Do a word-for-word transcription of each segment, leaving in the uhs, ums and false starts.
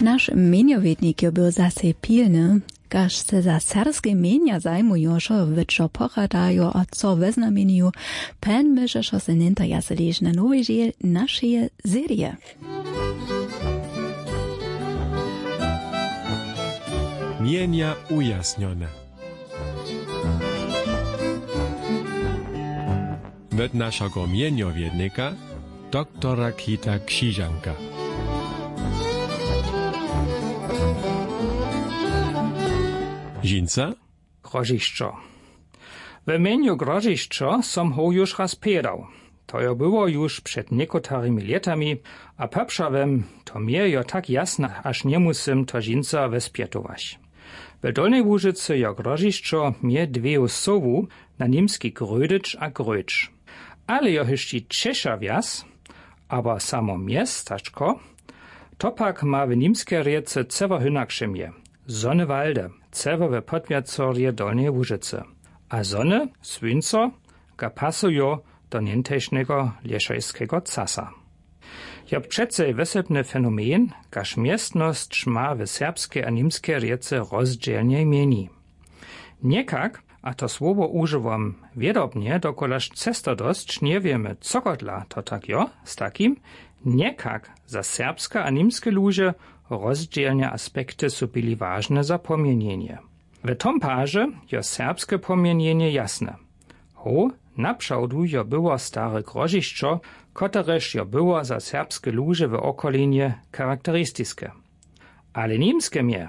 Naš měnjowědnik jo był zasej pilny. Kaž se za serbske mjenja zajmujošo, wětšo pochadajo a co wěznamenju, pen myšešo se njentajase lež na nowej žel našeje serije. Mjenja ujasnjone. Wot našeho mjenjowědnika, doktora Kita Křižanka. Žinca? Grožišćo. We mjenju Grožišćo som hoł już raz pjedał. To jo było już před někotarimi lětami, a poprawom, to mje jo tak jasne, haž njemusym to žinca wespjetować. W Dolnjej Łužycy jo Grožišćo mje dweju sowu, na nimski Grödyć a Gröč. Ale jo hyšći ćeša wjaz, abo samo městačko, to pak ma w nimskej rěce cyło hynakše mje. Sonnewalde, cyło we podwjacorje Dolnjeje Łužycy. A sonne, słónco, ga pasujo do něhtajšneho lěšajskeho casa. Jo přecej wysebny fenomen, kaž městnosć ma w serbskej a nimskej rěce rozdźělnje mjeni. Někak, a to słowo wužiwam wědobnje, dokulaž čestodosć njewěmy, cokodla to tak jo, z takim, někak za serbske a nimske luže rozdźělne aspekty su byli wažne za pomjenjenje. W tom paže jo serbske pomjenjenje jasne. Ho, napřawdu jo było stare Grožišćo, kotrež jo było za serbske luže w okolinje charakteristiske. Ale nimske mje,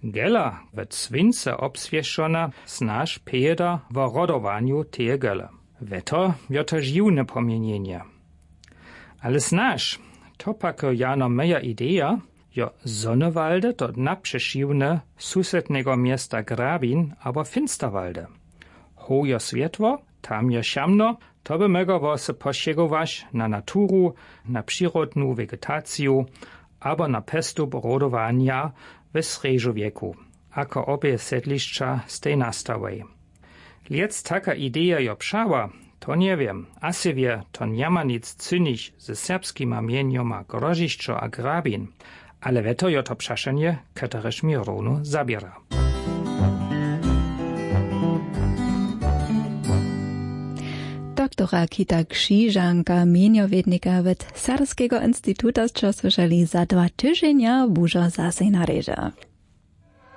Gela, wot słónce wobswěšona, snaž pěda wo rodowanju teje Gele. Wjeto jo to žiwne pomjenjenje. Ale snaž, to pak jo jano meja ideja, jo Sonnewalde to napřešiwne susedneho města Grabin abo Finsterwalde. Ho jo swětło, tam jo šamno, to by móhło so pošěgować na naturu, na přirodnu vegetaciju abo na pjestup rodowanja we srjedźowjeku, ako obě sedlišća stej nastałej. Lěc taka ideja jo přała, to njewěm, a sej wě, to njama nic cynić ze serbskima mjenjoma Grožišćo a Grabin, ale wjeto jo to přašanje, kotrež mi rowno zaběra. Doktora Kita Křižanka, mjenjowědnika wot Serbskeho instituta, sće słyšeli, za dwa tyźenja bužo zasej na rěže.